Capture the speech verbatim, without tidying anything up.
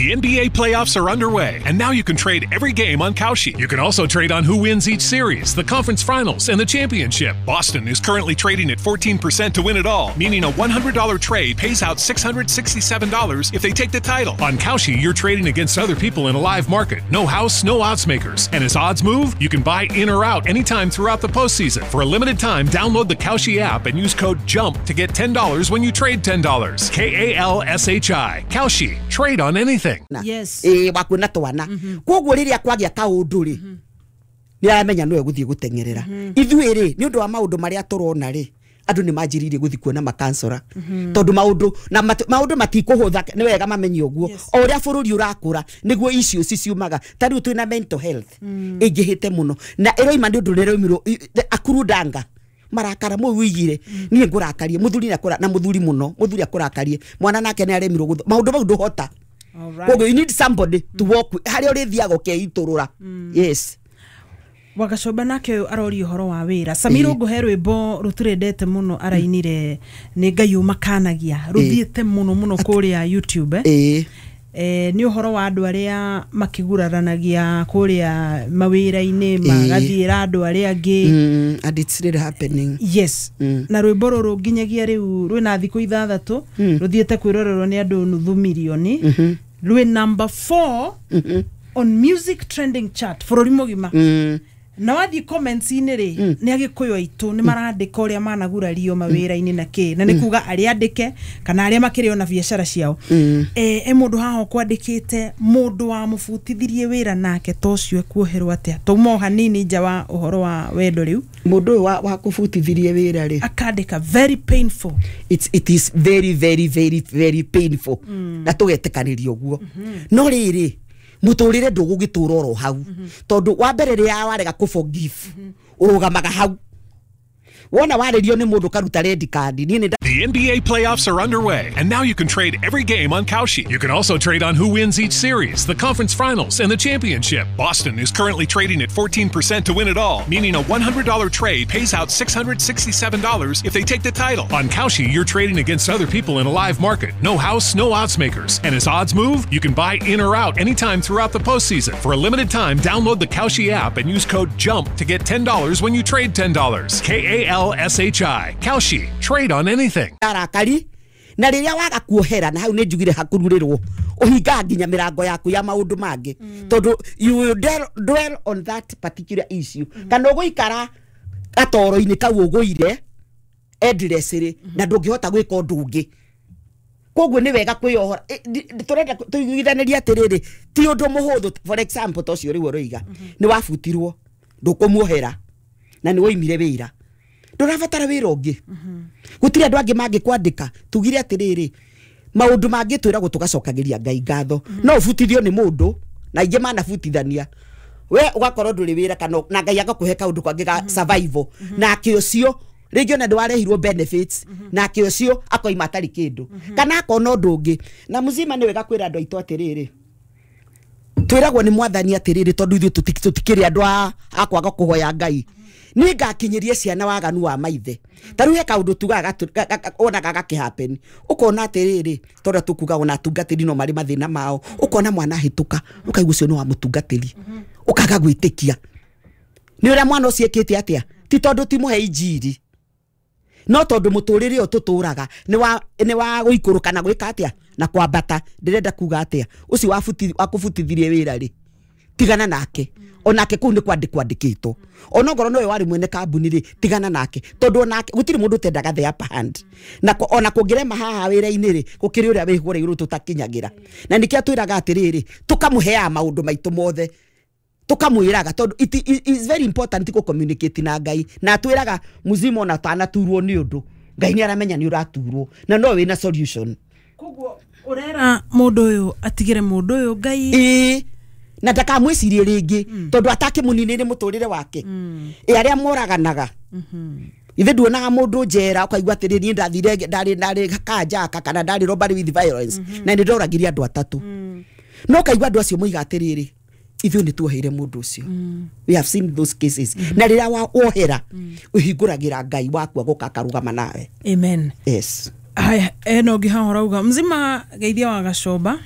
The N B A playoffs are underway, and now you can trade every game on Kalshi. You can also trade on who wins each series, the conference finals, and the championship. Boston is currently trading at fourteen percent to win it all, meaning a one hundred dollar trade pays out six hundred sixty-seven dollars if they take the title. On Kalshi, you're trading against other people in a live market. No house, no odds makers. And as odds move, you can buy in or out anytime throughout the postseason. For a limited time, download the Kalshi app and use code JUMP to get ten dollars when you trade ten dollars. K A L S H I. Kalshi. Trade on anything. Yes. Ĩĩ, wakuona twana. Koguo rĩrĩa kwagĩa kaũndũ rĩ, nĩ aramenya nĩwe gũthiĩ gũteng'erera. Ithuĩ rĩ, nĩ ũndũ wa maũndũ marĩa tũrona rĩ, andũ nĩ manjĩrĩirie gũthiĩ kuona makansora, tondũ maũndũ na mat- maũndũ matikũhũtha. Nĩ wega mamenye ũguo. Yes. O ũrĩa bũrũri ũrakũra, nĩguo issues ciumaga. Ta rĩu twĩna mental health ĩingĩhĩte mũno, na ĩroima nĩ ũndũ rĩroimirwo akurudanga marakara må wigire niä ngå muthuri na na muthuri muno, muthuri akũrakarie, mwana nake nĩ aremirwo gũtho maũndũ mau ndũhota. Alright. Koguo you need somebody to walk with harĩa ũrĩthiaga ũkeitũrũra, yes. Wagacoba nake ũyũ aroria ũhoro wa wĩra. Samira, ngũhe rwĩmbo rũtũrendete mũno, arainire nĩ Ngai ũmakanagia, rũthiĩte mũno mũno kũrĩa YouTube, eh? Ĩĩ. Eh, nĩ ũhoro wa andũ arĩa makĩguraranagia kũrĩa mawĩra-inĩ, magathiĩra andũ arĩa angĩ. mm, and it's really happening. Yes. Mm. Na rwĩmbo rũrũ nginyagia rĩu rwĩna thikũ ithathatũ rũthiĩte kwĩrorerwo nĩ andũ nuthu mirioni, rwĩ number four on music trending chart bũrũri mũgima. Mm. Na wathiĩ comments-inĩ rĩ, nĩ Agĩkũyũ aitũ nĩ marandĩka ũrĩa managurario mawĩra-inĩ na kĩ, na nĩ kuga arĩa andĩke kana arĩa makĩrĩ ona biacara ciao. eh, e mũndũ haha ũkwandĩkĩte, mũndũ wamũbutithirie wĩra nake ta ũcio ekuoherwo atĩa? Tauma o hanini nja wa ũhoro wa wendo rĩu. Mũndũ ũyũ wa, wa kũbutithirie wĩra rĩ, akandĩka very painful. it's, it is very, very, very, very painful, na tũgetĩkanĩria ũguo. No rĩrĩ, mũtũrĩre ndũgũgĩtũra oro hau, tondũ wa mbere rĩrĩa warega kũ forgive, ũrũgamaga hau wona warĩrio nĩ mũndũ karuta red card. Niĩ nĩ The N B A playoffs are underway, and now you can trade every game on Kalshi. You can also trade on who wins each series, the conference finals, and the championship. Boston is currently trading at fourteen percent to win it all, meaning a one hundred dollar trade pays out six hundred sixty-seven dollars if they take the title. On Kalshi, you're trading against other people in a live market. No house, no odds makers. And as odds move, you can buy in or out anytime throughout the postseason. For a limited time, download the Kalshi app and use code JUMP to get ten dollars when you trade ten dollars. K A L S H I. Kalshi. Trade on anything. Arakari na rĩrĩa waga kuohera, na hau nĩ njugire hakururĩrwo, ũhingaga nginya mĩrango yaku ya maũndũ mangĩ, tondũ you will dwell, dwell on that particular issue, kana ũgũikara gatoro-inĩ kau ũgũire endlessly na ndũngĩhota gwĩka ũndũ ũngĩ. Koguo nĩ wega kwĩyohora. Eh, ndi- tũrenda tũiguithanĩrie atĩrĩrĩ, ti ũndũ mũhũthũ. For example, ta ũcio rĩu ũroiga nĩ wabutirwo, ndũkũmuohera na nĩ woimire wĩra, ndũrabatara wĩra ũngĩ, gũtirĩ andũ angĩ mangĩkwandĩka. Tugire atĩrĩrĩ, maũndũ mangĩ twĩragwo tũgacokagĩria Ngai ngatho. No ũbutithio nĩ mũndũ na aingĩ manabutithania, we ũgakorwo ndũrĩ wĩra kana na Ngai agakũhe kaũndũ kangĩ ga survival, nake ũcio rĩngĩ ona ndwarehirwo benefits, nake ũcio akoima atarĩ kĩndũ kana akona ũndũ ũngĩ. Na mzima nĩ wega kwĩra andũ aitũ atĩrĩrĩ, twĩragwo nĩ Mwathani atĩrĩrĩ, tondũ ithuĩ tũti- tũtikĩrĩ andũ a a kwaga kũhoya Ngai, nĩ ngakinyĩrie ciana waganu wa maithe. Ta rĩu he kaũndũ tugaga gatu- ga- ga- ga- wonaga gakĩhappen, ũkona atĩrĩrĩ, tondũ tũkuga ona atungatĩri no marĩ mathĩna mao, ũkona mwana ahĩtũka, ũkaigua ũcio nĩ wa mũtungatĩri, ũkaga gwĩtĩkia nĩ ũrĩa mwana ũcio ĩkĩte atĩa. Ti tondũ ti mũhe injiri, no tondũ mũtũrĩre ũyũ tũtũraga nĩ wa nĩ wa gũikũrũka na gwĩka atĩa na kwambata. Ndĩrenda kuga atĩa, ũcio wabuti- wakũbutithirie wĩra rĩ, tigana nake. Onake kũu nĩ kwandĩkwo andĩkĩtwo. Onokorwo nowe warĩ mwene kambuni rĩ, tigana nake, tondũ onake gũtirĩ mũndũ ũtendaga the upper hand. Na ko- ona kũngĩrema haha wĩra-inĩ rĩ, gũkĩrĩ ũrĩa wĩ kũrĩa igũrũ tũtakinyagĩra. Na nĩkĩo twĩraga atĩrĩrĩ, tũkamũheaga maũndũ maitũ mothe, tukamwĩraga, tondũ it it is very important kũ communicate na Ngai. Na atwĩraga muzima, ona tanaturwo nĩ ũndũ, Ngai nĩ aramenya nĩ ũraturwo na no wĩna solution. Koguo ũrera mũndũ ũyũ atigĩre mũndũ ũyũ Ngai. Ĩĩ, na ndakamwĩcirie rĩngĩ, tondũ atakĩmũninĩre mũtũrĩre wake. Ĩ arĩa moraganaga ithe, nduonaga mũndũ njera ũkaigua atĩrĩ, niĩ ndathire ndarĩ ndarĩ kanjaka kana ndarĩ robbery with violence na nĩ ndoragire andũ atatũ, no kaigua andũ acio moiga atĩrĩrĩ, ithuĩ nĩ tuoheire mũndũ ũcio. We have seen those cases. Na rĩrĩa wa- wohera, ũhingũragĩra Ngai waku agoka akarũgama nawe. Amen. Yes. Haya, eno ũngĩ haha ũrauga mzima geithia wa Gacomba.